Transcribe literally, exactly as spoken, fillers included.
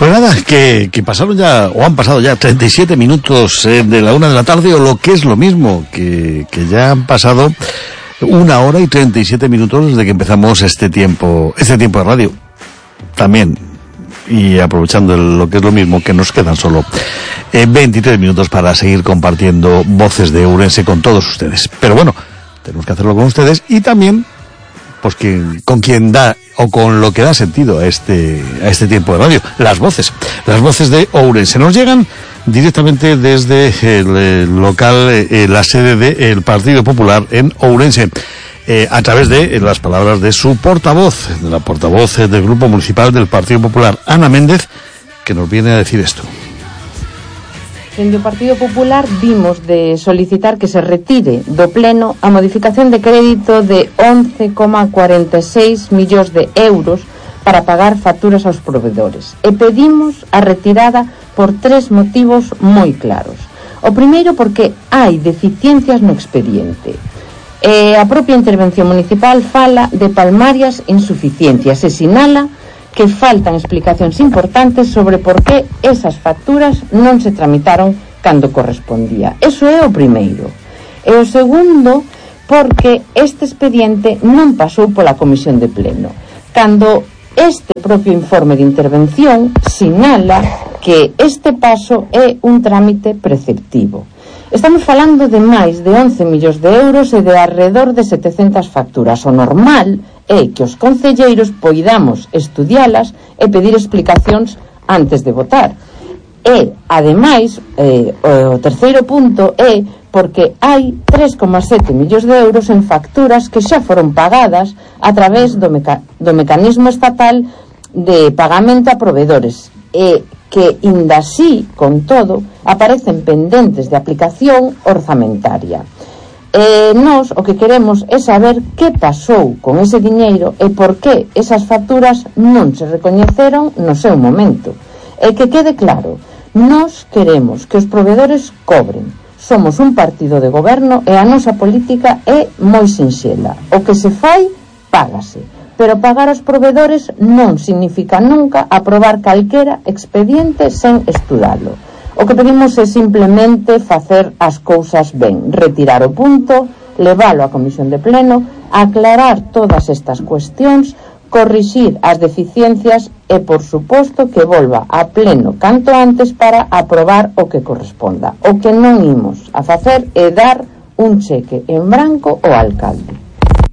Pues nada, que, que pasaron ya, o han pasado ya treinta y siete minutos eh, de la una de la tarde, o lo que es lo mismo, que, que ya han pasado una hora y treinta y siete minutos desde que empezamos este tiempo, este tiempo de radio. También, y aprovechando el, lo que es lo mismo, que nos quedan solo eh, veintitrés minutos para seguir compartiendo voces de Ourense con todos ustedes. Pero bueno, tenemos que hacerlo con ustedes y también pues que, con quien da o con lo que da sentido a este a este tiempo de radio, las voces, las voces de Ourense nos llegan directamente desde el, el local, eh, la sede del Partido Popular en Ourense, eh, a través de eh, las palabras de su portavoz, de la portavoz eh, del Grupo Municipal del Partido Popular, Ana Méndez, que nos viene a decir esto. Dende o Partido Popular vimos de solicitar que se retire do pleno a modificación de crédito de once coma cuarenta e seis millóns de euros para pagar facturas aos provedores. E pedimos a retirada por tres motivos moi claros. O primeiro, porque hai deficiencias no expediente. E a propia intervención municipal fala de palmarias insuficiencias e sinala que faltan explicacións importantes sobre por que esas facturas non se tramitaron cando correspondía. Eso é o primeiro. E o segundo, porque este expediente non pasou pola comisión de pleno, cando este propio informe de intervención sinala que este paso é un trámite preceptivo. Estamos falando de máis de once millóns de euros e de alrededor de setecentas facturas. O normal é que os concelleiros poidamos estudialas e pedir explicacións antes de votar. E, ademais, eh, o terceiro punto é porque hai tres coma sete millóns de euros en facturas que xa foron pagadas a través do, meca do mecanismo estatal de pagamento a provedores e que, inda así, con todo, aparecen pendentes de aplicación orzamentaria. E nós o que queremos é saber que pasou con ese diñeiro e por que esas facturas non se recoñeceron no seu momento. E que quede claro, nós queremos que os provedores cobren. Somos un partido de goberno e a nosa política é moi sinxela. O que se fai, págase. Pero pagar aos provedores non significa nunca aprobar calquera expediente sen estudalo. O que pedimos é simplemente facer as cousas ben, retirar o punto, leválo á comisión de pleno, aclarar todas estas cuestións, corrixir as deficiencias e, por suposto, que volva a pleno canto antes para aprobar o que corresponda. O que non imos a facer é dar un cheque en branco ao alcalde.